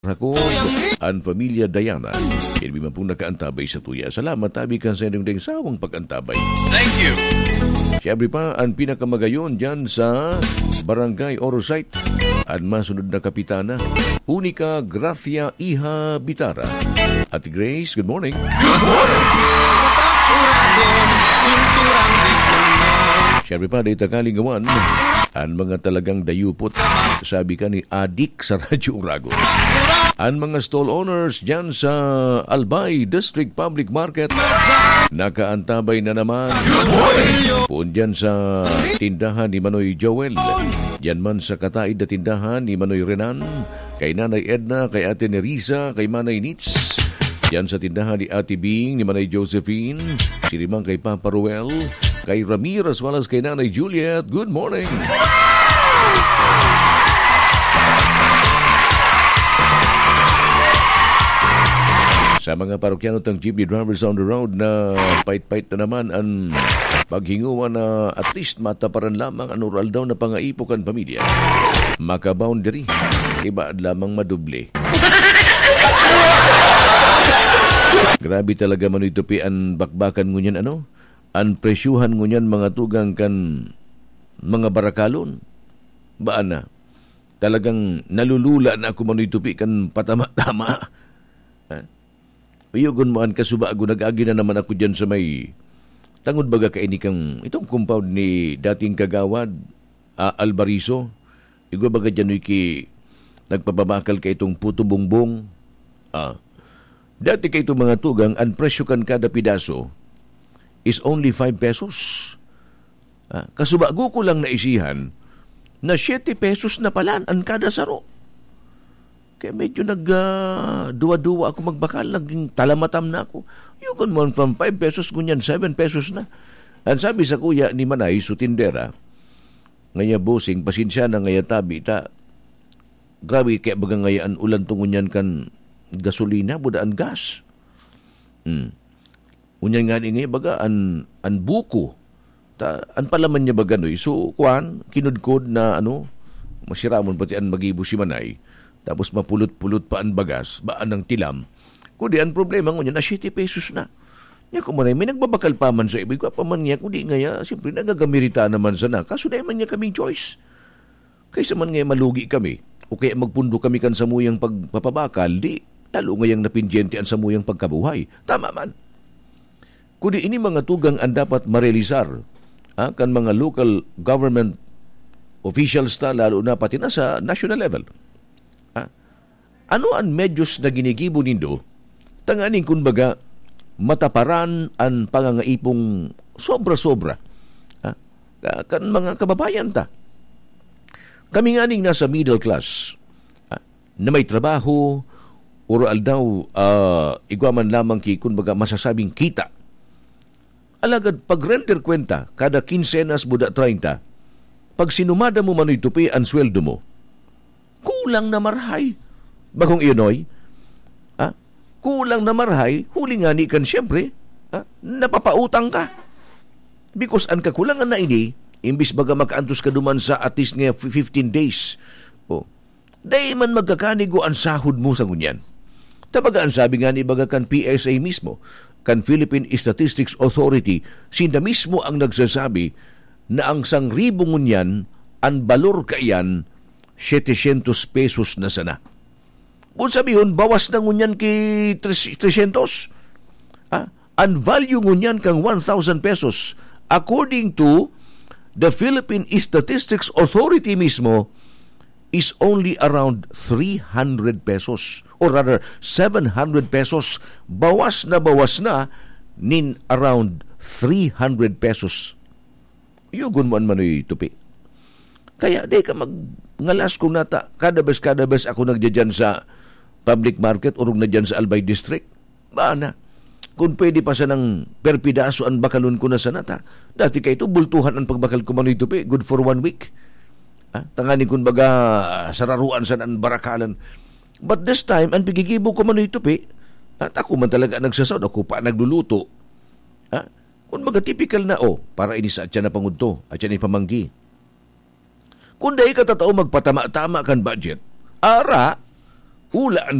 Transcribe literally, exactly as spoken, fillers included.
Hako, an pamilya Diana. Ini man pong nakaantabay sa tuya. Salamat, tabi kan sa inyong ding sawang pag-antabay. Thank you. Siyempre pa, ang pinakamagayon dyan sa Barangay Orosite. Ang masunod na kapitana, Unica Gracia Iha Bitara. Ate Grace, good morning. Siyempre pa, dito kalingawan, ang mga talagang dayupot. Sabi ka ni adik sa Radyo Uragon. Ang mga stall owners dyan sa Albay District Public Market, nakaantabay na naman. Poon dyan sa tindahan ni Manoy Joel. Dyan man sa kataid na tindahan ni Manoy Renan. Kay Nanay Edna, kay Ate Nerissa, kay Manay Nits. Dyan sa tindahan ni Ate Bing, ni Manay Josephine. Siriman kay Papa Ruel, kay Ramir, as well as kay Nanay Juliet. Good morning! Sa mga parokyano tang jeepney drivers on the road na pait-pait na naman ang paghinguan na at least mataparan lamang an oral daw na pangaipok kan pamilya. Maka-boundary. Iba lamang madoble. Grabe talaga, Manoy Tupi, an bakbakan ngunyan, ano? An presyuhan ngunyan, mga tugang, kan mga barakalon. Baan na? Talagang nalulula na ako, Manoy Tupi, kan patama-tama. Ha? Uyogon mo an kasubago, nag-agi na naman ako diyan sa may, tangod baga kaini kang, itong compound ni dating kagawad, ah, Alvarizo. Igwa baga diyan, Wiki, nagpapabakal ka itong puto bongbong. Ah, dati ka itong mga tugang, ang presyo kan kada pidaso is only five pesos. Ah, kasubago ko lang naisihan na siete pesos na pala an kada saro. Kaya medyo nag, ah, duwa-duwa ako magbakal, naging talamatam na ako. Yun, kun man from five pesos, ngunyan seven pesos na. Ang sabi sa kuya ni Manay, su tindera, "Ngaya, bossing, pasensya na, ngaya tabi ta. Grabe, kaya baga ngaya an ulan to ngunyan kan gasolina, buda an gas." Hmm. Unya ngani nga, baga, an, an buko, ta, an palaman niya baga, noy? So, kuwan, kinudkod na, ano, masiramon pati an magibo si Manay. Tapos mapulot-pulot pa an bagas, baan ang tilam. Kundi an problema ngunyan na siete pesos na. Niya ko, Manay, may nagbabakal pa man sa iba, igwa pa man niya, kundi ngaya, siyempre, nagagamirita naman sana. Kaso dai man niya kaming choice. Kaysa man ngaya malugi kami, o kaya magpundo kami kan samuyang pagpapabakal, di lalo ngayang napindyente an samuyang pagkabuhay. Tama man. Kundi ini mga tugang an dapat marealisar, ah, kan mga local government officials ta, lalo na pati na sa national level. Ah, ano an medyos na ginigibo nindo tanganing, kun baga, mataparan an pangangaipong sobra-sobra, ah, ka-, kan mga kababayan ta? Kami nganing nasa middle class, ah, na may trabaho, oro aldaw, ah, igwa man lamang ki, kun baga, masasabing kita. Alagad pag render kwenta, kada kinsenas buda treinta, pag sinumada mo, Manoy Tupi, an sweldo mo, kulang na marhay. Bagong iyonoy, ah, kulang na marhay, huli ngani kan siyempre, ah, napapautang ka. Because an kakulangan na ini, imbis baga makaantos ka duman sa at least nga fifteen days, oh, dai man magkakanigo an sahod mo sa ngunyan. Ta baga, an sabi ngani baga kan P S A mismo, kan Philippine Statistics Authority, sinda mismo ang nagsasabi na ang sangribo ngunyan, an balor kaiyan, setecientos pesos na sana. Kun sabihon, bawas na ngunyan ki tres-, trescientos. Ha? An value ngunyan kan one thousand pesos, according to the Philippine Statistics Authority mismo, is only around three hundred pesos, or rather, seven hundred pesos. Bawas na bawas na nin around three hundred pesos. Yugon mo an Manoy Tupi. Kaya di ka magngalas kung nata, kada bes, kada bes ako nagdyan sa public market, orog na dyan sa Albay District. Bana, kung pwede pa sanang per pidaso an bakalon ko na sana ta. Dati kaito, bultuhan an pagbakal ko, Manoy Tupi, good for one week. Ah, tanganing kun baga, sararuan sana an barakalan. But this time, an pigigibo ko, Manoy Tupi, at ako man talaga nagsasaod, ako pa nagluluto. Ah, kun baga, tipikal na, oh, para ini sa atyan na pangudto, atyan ni pamanggi. Kun dai ka tatao magpatama-tama kan budget, ara, Hula